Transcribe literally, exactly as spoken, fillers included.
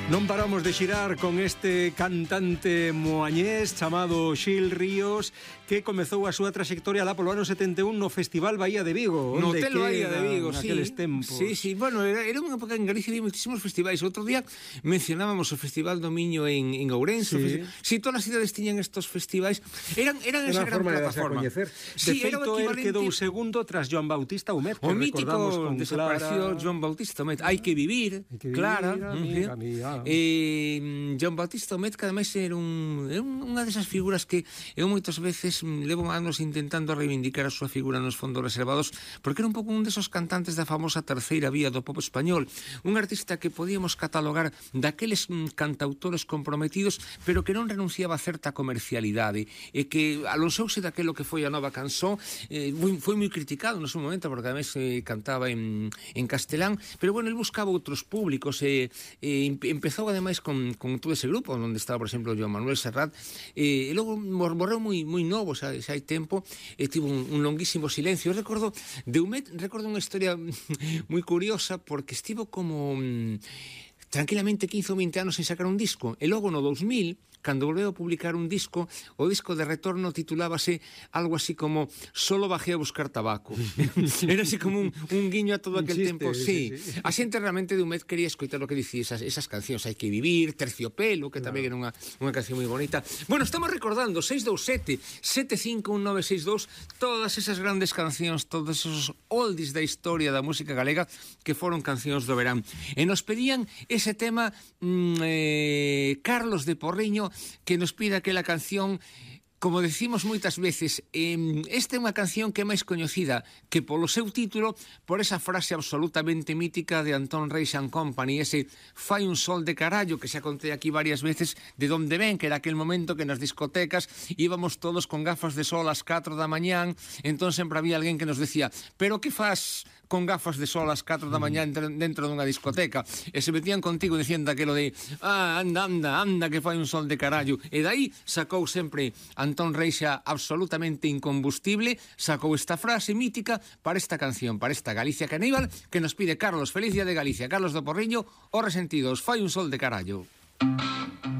Non paramos de xirar con este cantante moañés chamado Xil Ríos, que comezou a súa traxectoria lá polo ano setenta e un no Festival Bahía de Vigo. No Hotel Bahía de Vigo, sí. Tempos. Sí, sí, bueno, era, era unha época en Galicia, había moitísimos festivais. Outro día mencionábamos o Festival do Miño en, en Ourense. Sí. sí, todas as cidades tiñan estos festivais. Eran, eran esa gran plataforma. De sí, feito, el quedou segundo tras Joan Bautista Humet, que o mítico Clara... desapareció Joan Bautista Humet. Hai que vivir, Hay que vivir Clara. Amiga, amiga. Eh, Joan Bautista Humet, que ademais era, un, era unha desas figuras que eu moitas veces levo anos intentando reivindicar a súa figura nos fondos reservados, porque era un pouco un desos cantantes da famosa terceira vía do pop español, un artista que podíamos catalogar daqueles cantautores comprometidos, pero que non renunciaba a certa comercialidade, e que alonsouse daquelo que foi a nova canción. eh, foi moi criticado no seu momento, porque ademais eh, cantaba en, en castelán, pero bueno, el buscaba outros públicos, e eh, empezou ademais con, con todo ese grupo onde estaba, por exemplo, Joan Manuel Serrat, e, e logo morreu moi, moi novo, xa, xa hai tempo, e tivo un, un longuísimo silencio. Eu recordo de Humet, recordo unha historia moi curiosa, porque estivo como mmm, tranquilamente quince ou vinte anos sin sacar un disco, e logo no dous mil, cando volveu a publicar un disco, o disco de retorno titulábase algo así como Solo bajé a buscar tabaco. Era así como un, un guiño a todo aquel chiste, tempo. Sí, sí, sí. A xente realmente de Humet quería escoitar o que dicía esas, esas cancións. Hai que vivir, Terciopelo, que tamén era unha, unha canción moi bonita. Bueno, estamos recordando seis dous sete, sete cinco un nove seis dous, todas esas grandes cancións, todos esos oldies da historia da música galega que foron cancións do verán. E nos pedían ese tema mmm, eh, Carlos de Porriño, que nos pide aquela canción. Como decimos moitas veces, eh, esta é unha canción que é máis coñecida que polo seu título, por esa frase absolutamente mítica de Antón Reis and Company, ese fai un sol de carallo, que xa contei aquí varias veces de onde ven, que era aquel momento que nas discotecas íbamos todos con gafas de sol ás catro da mañán, entón sempre había alguén que nos decía, pero que faz con gafas de sol ás catro da mañán dentro dunha discoteca? E se metían contigo dicindo aquelo de ah, anda, anda, anda, que fai un sol de carallo. E daí sacou sempre Antón Reixa, absolutamente incombustible, sacou esta frase mítica para esta canción, para esta Galicia Caníbal, que nos pide Carlos. Feliz día de Galicia. Carlos do Porriño, Os Resentidos, fai un sol de carallo.